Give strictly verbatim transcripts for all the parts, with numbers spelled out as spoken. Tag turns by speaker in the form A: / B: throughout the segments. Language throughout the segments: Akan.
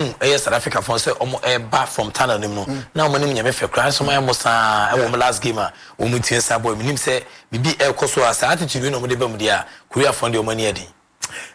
A: Ɛyɛ South Africa fɔ sɛ ɔmo ɛba from tunnel no mu no na ɔmo anim nyame fɛ koraa nso ɔmo ayɛ mo saa ɛwɔ ɔmo last game a ɔmo tumi sa bɔ. Nim sɛ biribi ɛrekɔ so a, saa attitude wei na ɔmo de ba mu deɛ a, Korea fɔ deɛ, ɔmo ani yɛ den.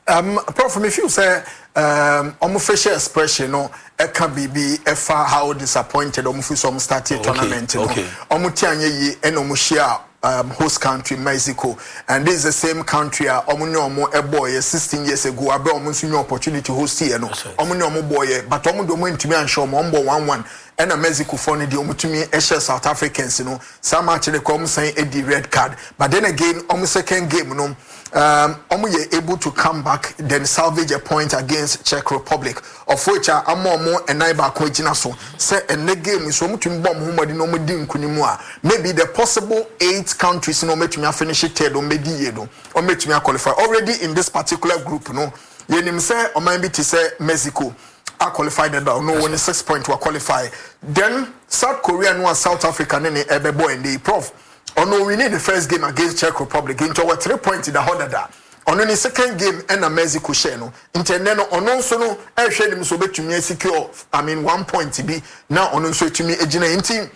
B: Um, Prof, me feel sɛ um, ɔmo facial expression no ɛka biribi ɛfa how disappointed ɔmo feel sɛ ɔmo start okay, tournament no.
A: okay.
B: Ɔmo ti anyɛ yie ɛna ɔmo hyia um, host country Mexico, and this is the same country a ɔmo ne ɔmo ɛbɔ yɛ sixteen years ago, abɛ ɔmo nso nye opportunity host yɛ no.
A: That's right.
B: Ɔmo ne ɔmo bɔ yɛ, but ɔmo de ɔmo ntumi anhyɛ ɔmo, ɔmo bɔ one one, ɛna Mexico fo no deɛ, ɔmo tumi ɛhyɛ South Africans no saa match no kɔ, ɔmo san edi red card. But then again, ɔmo second game no, um, ɔmo yɛ able to come back, then salvage a point against Czech Republic, of which a ama ɔmo ɛnan baako gyina so sɛ ɛnɛ game so ɔmo tumi bɔ ɔmo ho mmɔden na ɔmo di nkunim a, maybe the possible eight countries na ɔmo etumi afinish third, ɔmo bɛdi yie no, ɔmo etumi aqualify already in this particular group no. Yɛnim sɛ ɔman bi te sɛ Mexico a qualify dada, ɔno wɔ ne six point wa qualify. Then South Korea no a South Africa ne ne ɛbɛbɔ ɛnɛ yi, Prof, ɔno winning the first game against Czech Republic, nti ɔwɔ three point da hɔ dada. Ɔno ne second game ɛna Mexico hyɛ no, nti ɛnɛ no ɔno nso no ɛrehwɛ nim so obetumi secure, I mean, one point bi na ɔno nso etumi egyina. Nti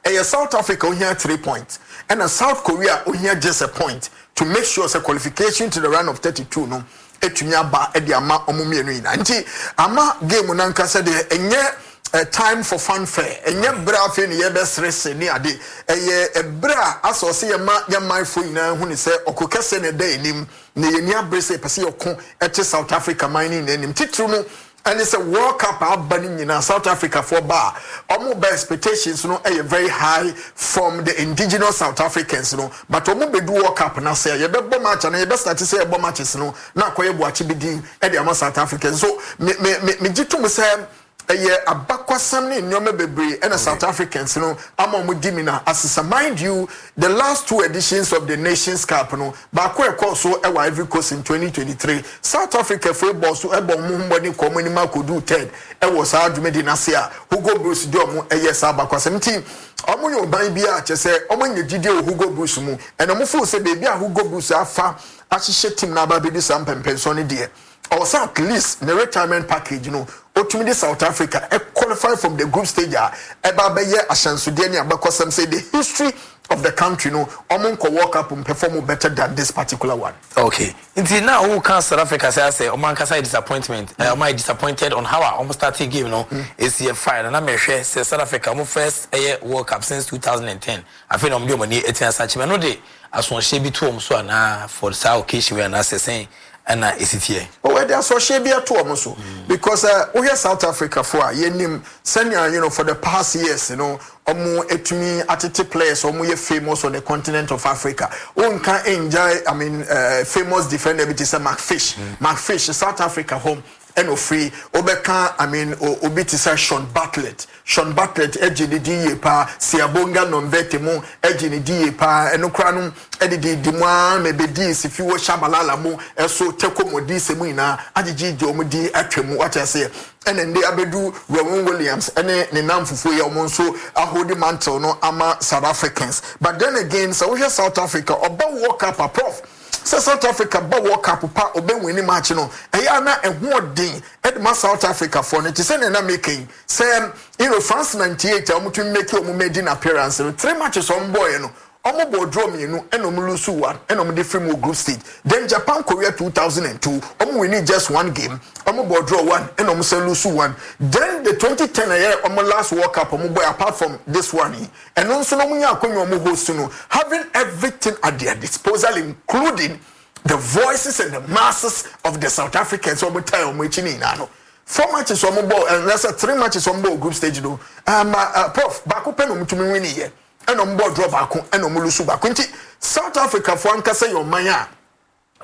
B: ɛyɛ South Africa ohia three points ɛna South Korea ohia just a point to make sure sɛ qualification to the round of thirty-two no etumi aba ɛde ama ɔmo mmienu nyinaa. Nti ama game nankasa deɛ, ɛnyɛ uh, time for fanfare, ɛnyɛ berɛ afei ne yɛbɛseresere ne ade. Ɛyɛ ɛberɛ a asɛ ɔsɛ yɛma yɛmanfoɔ nyinaa hu ne sɛ ɔko kɛseɛ na ɛda anim na yɛni abere sɛ yɛpɛ sɛ yɛko ɛte South Africa man no nyinaa anim. Titiri no ɛne sɛ World Cup aba no nyinaa, South Africa foɔ ba a, ɔmo ba, expectations no ɛyɛ very high from the indigenous South Africans no, but ɔmo bɛdu World Cup na sɛ yɛbɛbɔ match ana yɛbɛ start sɛ yɛbɔ matches no na akɔyɛ buakye bi din ɛde ama South Africans. So me me me me gye tom sɛ ɛyɛ abakwasɛm ne nneɛma bebree ɛna South Africans no ama wɔn di mi na asesa. Mind you, the last two editions of the Nations Cup no, baako ɛkɔɔ so ɛwɔ Ivory Coast in twenty twenty-three, South Africa fo bɔ so ɛbɔ wɔn ho mmɔden kɔ wɔn anim akɔdu third ɛwɔ saa dwumadi n'ase a Hugo Broos di wɔn ɛyɛ saa abakwasɛm. Nti wɔn yɛ ɔban bi a kyerɛ sɛ wɔn anya gyidie wɔ Hugo Broos mu, ɛna wɔn fo sɛ beebi a Hugo Broos afa ahyehyɛ team n'aba abɛdi saa mpɛmpɛnsoɔ no deɛ, ɔwɔ sɛ at least ne retirement package no, otumi de South Africa ɛ qualify from the group stage a ɛba abɛyɛ ahyɛnsodeɛ ne abɛkɔsɛm sɛ the history of the country no, ɔmo nkɔ World Cup perform better than this particular one.
A: Okay, nti na wo kan South Africa sɛ asɛ ɔmo ankasa yɛ disappointment, ɛ ɔmo ayɛ disappointed on how a ɔmo starting game no esi yɛ fine. Na mɛhwɛ sɛ South Africa ɔmo first ɛyɛ World Cup since two thousand and ten, afei na ɔmo de ɔmo ani eti asa kyerɛ no de asɔnhyɛ bi to ɔmo so anaa for saa occasion wei anaa sɛ sɛn ɛna esi teɛ?
B: Ɔwɔ de asɔhyɛ bi ato ɔmo so because uh, wohwɛ South Africa fo a, yɛnim sɛnea you know for the past years you know ɔmo etumi atete players, ɔmo yɛ famous on the continent of Africa. Wonka ngya, I mean, uh, famous defender bi te sɛ Mark Fish mm. Mark Fish, South Africa home ɛna ofiri. Wobɛka, I mean, obi te sɛ Shaun Bartlett. Shaun Bartlett ɛgye ne din yie paa. Siyabonga Nomvete mu ɛgye ne din yie paa. Ɛno koraa no ɛde di di mu ara ma ebedi Siphiwe Tshabalala mu ɛso Teko Modise mu nyinaa agyegye gye wɔn din atwa mu wate aseɛ. Ɛna nde abɛdu Ronwen Williams ɛne ne nam fufuo yi a wɔn nso ahold mantle no ama South Africans. But then again, sɛ wohwɛ South Africa ɔba World Cup a, Prof, sɛ South Africa ba World Cup pa ɔbɛwin match no, ɛyɛ ana ɛho ɔden ɛde ma South Africa foɔ no te sɛ nea na meka yi sɛ you know France ninety-eight a wɔn make wɔn maiden appearance no, three matches wɔn bɔɔyɛ no, wɔn bɔ draw mmienu ɛna wɔn lose one ɛna wɔn de firi mu group stage. Then Japan Korea two thousand and two, wɔn win just one game, wɔn bɔ draw one ɛna wɔn sɛ lose one. Then the twenty ten ɛyɛ wɔn last World Cup wɔn bɔ apart from this one yi, ɛno nso na wɔn nyɛ akonnwa wɔn host no, having everything at their disposal, including the voices and the masses of the South Africans wɔn taa wɔn akyi ne nyinaa no, four matches wɔn bɔ, ɛnna sɛ three matches wɔn bɔ group stage no, um, uh, Prof, baako pɛ na wɔn tumi win yɛ, ɛna wɔn bɔ draw baako ɛna wɔn lose baako. Nti South Africa fo ankasa yɛ ɔman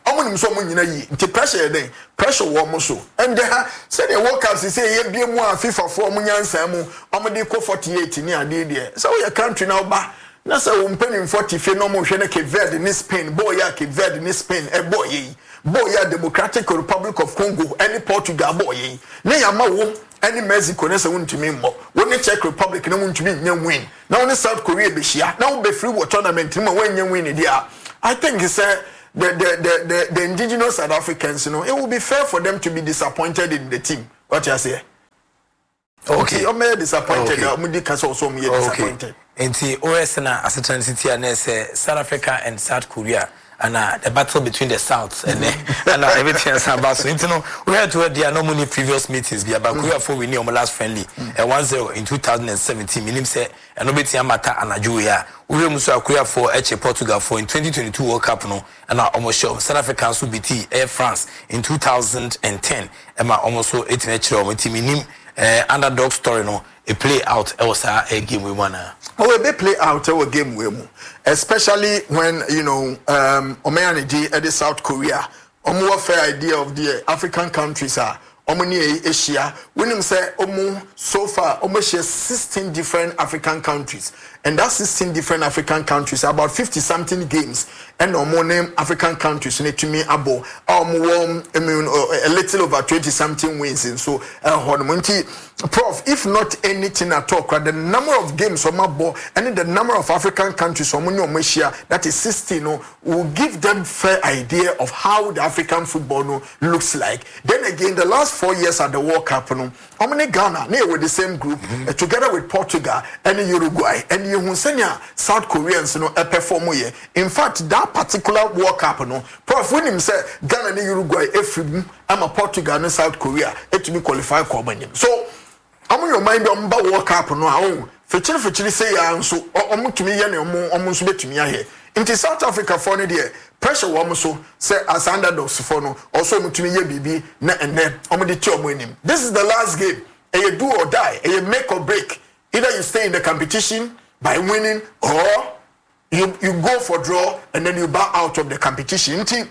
B: a wɔn nim sɛ wɔn nyina yie, nti pressure yɛ den, pressure wɔ wɔn so. Ɛnde ha sɛdeɛ World Cup sisi yɛ bie mu a, FIFA fo wɔn nyansa mu wɔn de kɔ forty eight ne adeɛ deɛ, sɛ wɔyɛ country na ɔba na sɛ wɔn mpanimfoɔ te fie na wɔn hwɛ no, Cape Verde ne Spain bɔɔl yɛ a, Cape Verde ne Spain ɛbɔɔl yɛ yi, bɔɔl yɛ a Democratic Republic of Congo ɛne Portugal bɔɔl yɛ yi, ne yàmà wo ɛne Mexico ne sɛ wontumi mmɔ wo ne Czech Republic na wontumi nyɛ win na wo ne South Korea bɛhyia na wobɛfiri wɔ tournament no ma woanyɛ win deɛ a, I think sɛ the the the the the indigenous South Africans, you know, it will be fair for them to be disappointed in the team. What you say?
A: Okay.
B: Ɔmo yɛ disappointed.
A: Okay.
B: Ɔmo di kasa ɔsɔ ɔmo yɛ disappointed.
A: Nti os na asetena no siti a na ɛsɛ South Africa and South Korea ana the battle between the South ɛnɛ ɛna ɛbɛtia san ba so. Nti no wohwɛ to adi a, na ɔmo ne previous meetings bi aba. Korea fo win ɔmo last friendly ɛ one zero in twenty seventeen. Minim sɛ ɛno bɛtia mata anadwo wei a wohwɛ mu so a, Korea fo ɛkyɛ Portugal fo in twenty twenty-two World Cup no, ɛna ɔmo hyɛ ɔmo. South Africa nso beat ɛyɛ France in twenty ten, ɛma ɔmo nso ɛtumi akyerɛ ɔmo. Nti minim ɛɛ underdog story no e play out ɛwɔ saa ɛyɛ game wei mu anaa?
B: Oh, ebe play out ɛwɔ game wei mu, especially when you know um, ɔmɛya ne di ɛde South Korea. Ɔmo wɔ fair idea of the African countries a ɔmo ne yɛ ahyia. Wonim sɛ ɔmo so far ɔmo ahyia sixteen different African countries, and that sixteen different African countries, about fifty something games ɛna ɔmo ne African countries ne tumi abɔ a ɔmo wɔ, I mean, a little over twenty something wins nso ɛhɔ nom. Nti prof, if not anything at all kora, the number of games ɔmo abɔ ɛne the number of African countries ɔmo ne ɔmo ahyia, that is sixteen no, will give them fair idea of how the African football no looks like. Then again, the last four years at the World Cup no, ɔmo ne Ghana ne yɛ wɔ the same group mm -hmm. uh, together with Portugal ɛne Uruguay, ɛne yehu sɛnea South Koreans no ɛperform yɛ. In fact, that particular World Cup no, prof, wonim sɛ Ghana ne Uruguay efiri mu ama Portugal ne South Korea etumi qualify kɔ ɔmo anim. So ɔmo yɛ ɔman bi ɔmo ba World Cup no a, ɔmo fikyiri fikyiri sɛ yɛ nso ɔmo tumi yɛ ne ɔmo ɔmo nso betumi ayɛ. Nti South Africa foɔ no deɛ, pressure wɔ ɔmo so sɛ as underdogs foɔ no, ɔso ɔmo tumi yɛ biribi na ɛnɛ ɔmo de ti ɔmo anim. This is the last game. Ɛyɛ do or die, ɛyɛ make or break. Either you stay in the competition by winning or you you go for draw and then you bow out of the competition. Nti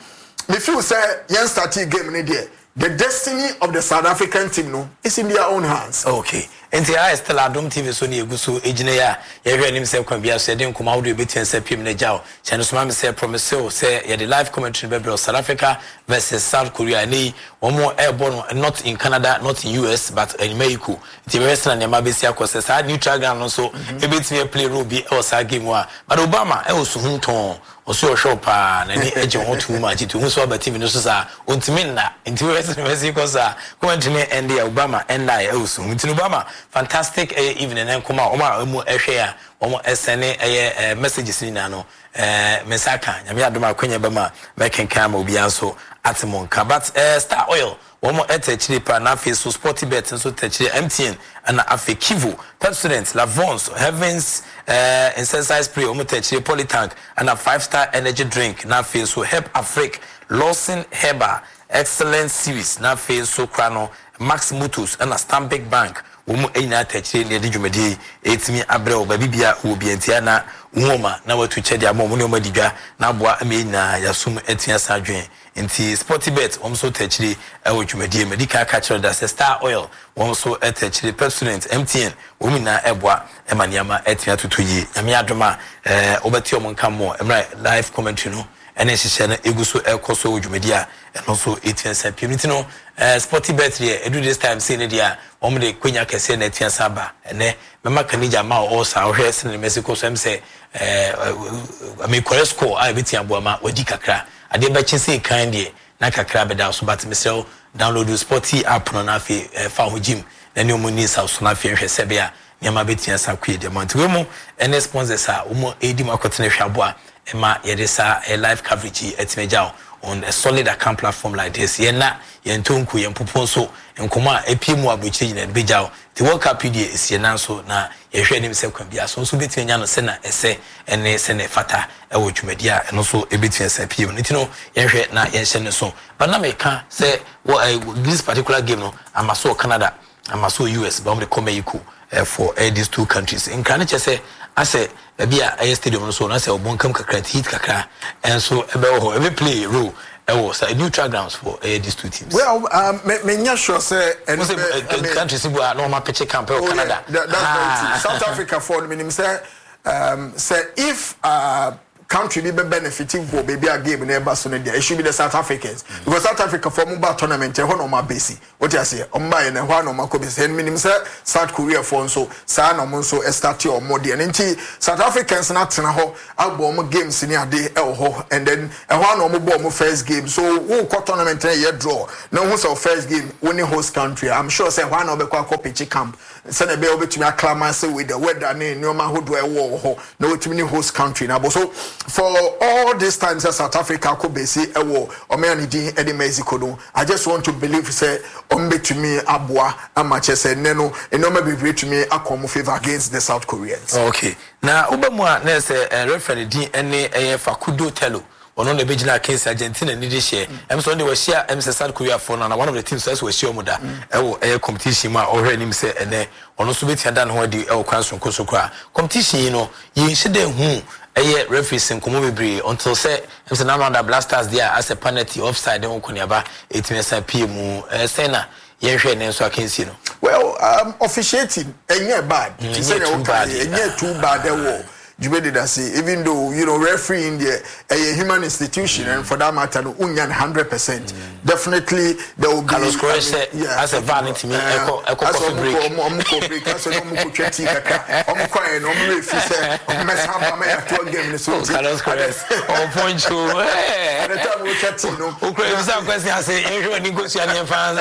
B: me feel sɛ yɛn start game ne deɛ, the destiny of the South African team no is in their own hands.
A: Okay, nti ayɛ still Adom T V so ne egu so egyina yi a yɛhwɛ anim sɛ kwan bia so yɛde nkɔmɔ ahodoɔ ebetua sɛ piem ne gyaw kyɛn no so. Maame sɛ promise o sɛ yɛde live commentary bɛbrɛ South Africa versus South Korea. Ne yi wɔn ɛrebɔ no not in Canada, not in U S, but in Mexico. Nti yɛbɛhwɛ sɛ na nneɛma bɛsi akɔ sɛ saa neutral ground no nso ebetumi play role bi ɛwɔ saa game mu a. But Obama ɛwɔ suhun tɔn ɔso ɔhwɛ paa, n'ani agye ho too much. Nti ohun sɛ ɔba T V no so saa ontumi nna. Nti wɔhwɛ sɛ nneɛma kɔ saa commentary ne ɛnde a Obama ɛnna ɛwɔ suhun. Nti Obama, fantastic ɛyɛ evening. Nkɔmɔ a wɔn a wɔn ɛhwɛ a wɔn ɛsɛne ɛyɛ ɛɛ messages nyinaa no, ɛɛ me nsa ka. Nyame adom akonya bɛm a mɛkenkan ama obiara nso ate mo nka. But ɛɛ Star Oil wɔn ɛtɛ akyire pa, na afei so Sporty Bet nso tɛ akyire, M T N, ɛna afei Kivo, Pepsodent, Lavons, Heavens ɛɛ insecticide spray wɔn tɛ akyire, Polytank, ɛna Five Star Energy Drink, na afei so Help Afric, Lawson Herbal Excellent Series, na afei nso kora no Max Motors, ɛna Stanbic Bank. Wɔn nyinaa tɛ akyire na yɛde dwumadie yi etumi abrɛ wɔ baabi bia wɔ bia. Ntia na wɔn na watu kyɛ de ama wɔn ne wɔn adi dwa na aboa ama yɛn nyinaa yasum atua san adwene. Nti Sporty Bet wɔn nso tɛ akyire ɛwɔ dwumadie mu. Edi kan aka kyerɛ da sɛ Star Oil wɔn nso tɛ akyire, Pepsodent, M T N, wɔn nyinaa ɛboa ɛma nneɛma ɛtumi atoto yie. Nyame adom a ɛɛ wɔbɛte wɔn nka mmɔ mmerɛ live commentary no ɛne nhyehyɛ no egu so ɛkɔ so wɔ dwumadie a ɛno nso etua nsa piem. Ti no ɛɛ Sporty Bet deɛ, edu this time sei ne deɛ a wɔn de konya kɛseɛ na etua nsa aba. Ɛnɛ mɛma Kanigya ma ɔɔsa ɔhwɛ sɛ ne mɛsi kɔ so ɛm sɛ ɛɛ ɛɛ correct score a ebi aboa ma wadi kakra. Adeɛ bɛkye sɛ kan deɛ na kakra bɛda so, but mesrɛ download Sporty app no na afei ɛfa ho gym na ne wɔn ni nsa so na afei nhwɛ sɛ bɛyɛ nneɛma bɛtua sa kɔ yɛ deɛ ma. Nti wɔn mu ɛne sponsors a wɔn edi mu akɔtena hwɛ aboa ɛma yɛde saa ɛyɛ live coverage yi ɛtumi gya on a solid account platform like this. Yɛn na yɛn ntonku yɛn popo nso nkɔmɔ a epie mu aburokyire nyinaa de bɛgya o. Nti World Cup yi deɛ, esi yɛn nan so na yɛhwɛ anim sɛ kwan bi aso nso bɛtumi anya no sɛ na ɛsɛ ɛne sɛ na ɛfata ɛwɔ dwumadi a ɛno nso ebɛtumi ɛsɛ pie mu. Nti no yɛnhwɛ na yɛnhyɛ ne so. But na meka sɛ wɔ ɛɛ this particular game no ama so wɔ Canada, ama so wɔ U S, but wɔn de kɔ Mexico uh, for uh, these two countries. Nkra ne kyɛ sɛ asɛ baabi a ɛyɛ stadium no so na sɛ ɔbɔ nkam kakra, nti heat kakra ɛnso ɛbɛwɔ hɔ, ɛbɛ play role ɛwɔ sa neutral grounds for ɛyɛ these two teams.
B: Well, um, me me nya sure sɛ
A: ɛno bɛ countries bi a na wɔn apɛkyɛ camp ɛwɔ Canada.
B: Oh, yeah, that, that's ah. very true. South Africa for minim sɛ um, sɛ if uh, country bi bɛ benefit wɔ baabi a game no ɛba so no deɛ, it should be the South Africans, because South Africa fo, ɔmo ba tournament, ɛhɔ na ɔmo abɛsi. Wote aseɛ? Ɔmo ba yɛ no, ɛhɔ a na ɔmo akɔ bɛsi. Ɛno minim sɛ South Korea foɔ nso saa na ɔmo nso ɛstart ɔmo deɛ no. Nti South Africans na tena hɔ abɔ ɔmo games ne ade ɛwɔ hɔ, and then ɛhɔ a na ɔmo bɔ ɔmo first game. So wokɔ tournament no, yɛ draw na wohu sɛ first game wo ne host country, I'm sure sɛ ɛhɔ a na ɔbɛkɔ akɔ pitch camp, sɛnɛ ɛbɛyɛ wobɛtumi acclimate with the weather ne nneɛma ahodoɔ ɛwɔ wɔ hɔ na wotumi ne host country na abɔ. So for all this time sɛ South Africa akɔ bɛsi ɛwɔ ɔmo ne din ɛde Mexico no, I just want to believe sɛ ɔmo bɛtumi aboa ama kyɛ sɛ nnɛ no nneɛma bebree tumi akɔ ɔmo favour against the South Koreans.
A: Okay, na wobɛ mu a na sɛ uh, referee din ɛne ɛyɛ Facundo Tello. Ɔno na ɛbɛgyina akansi Argentina ni de hyɛ ɛm sɛ ɔno de wɔahyia ɛm sɛ South Korea foɔ no na one of the teams ɛsɛ wɔahyia ɔmo da ɛwɔ ɛyɛ competition mu a ɔhwɛ anim sɛ ɛnɛ ɔno nso bɛtia da ne ho adi ɛwɔ kwan sonko so koraa. Competition yi no, yɛnhyɛ dɛ hu ɛyɛ referees nkɔmɔ bebree until sɛ ɛm sɛ nanu ada Black Stars deɛ a asɛ penalty, offside ho kɔneaba ɛtumi ɛsan pie mu. Ɛsɛn na yɛnhwɛ ne nso akansi no?
B: Well, um, officiating ɛnyɛ bad. Mm, ti sɛ
A: too bad.
B: Ɛnyɛ too bad ɛwɔ dwumadi da se, even though you know referee in there ɛyɛ human institution, mm. and for that matter no, unya hundred percent. Definitely there will be.
A: Carlos Queiroz sɛ asɛ VAR ne tumi ɛkɔ ɛkɔ coffee break.
B: Ɔmo ɔmo kɔ break, asɛ ɔmo kɔ twɛ tea kakra, ɔmo kɔ yɛ no, ɔmo rɛ fi sɛ ɔmo mɛsa aba mɛ yàtɔ game ni so.
A: Carlos Queiroz ɔmo punch o.
B: At the time o twɛ tea no.
A: Okura ebisa kwesi ase ehwɛ wɔ ni nkosua ni yɛn fa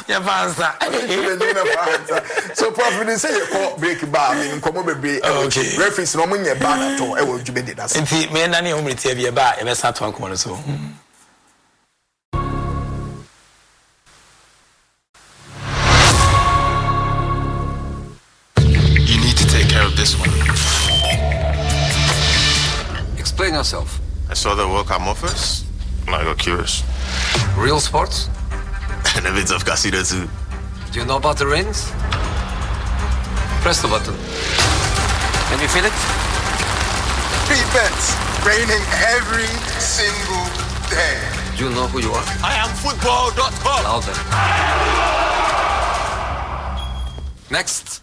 A: yɛn fa nsa.
B: So Prof ni sɛ yɛ kɔ break ba mi, nkɔmɔ bebree ɛwɔ referees na ɔmo nyɛ bad at all ɛwɔ dwumadi da se.
A: Nti mɛ nani ehun mi tie bi ɛba a yɛbɛsa to akɔmɔ no so.
C: You need to take care of this one.
D: Explain yourself.
C: I saw the World Cup offers and I got curious.
D: Real sports?
C: And a bit of casino too.
D: Do you know about the rings? Press the button. Can you feel it?
E: Free bets raining every single day.
D: Do you know who you are?
C: I am football dot com.
D: Louder. Next.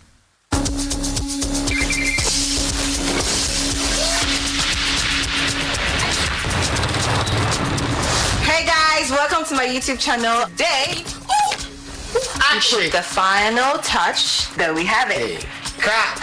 F: Hey guys, welcome to my YouTube channel. Day, action. The final touch. There we have it.
E: Crap.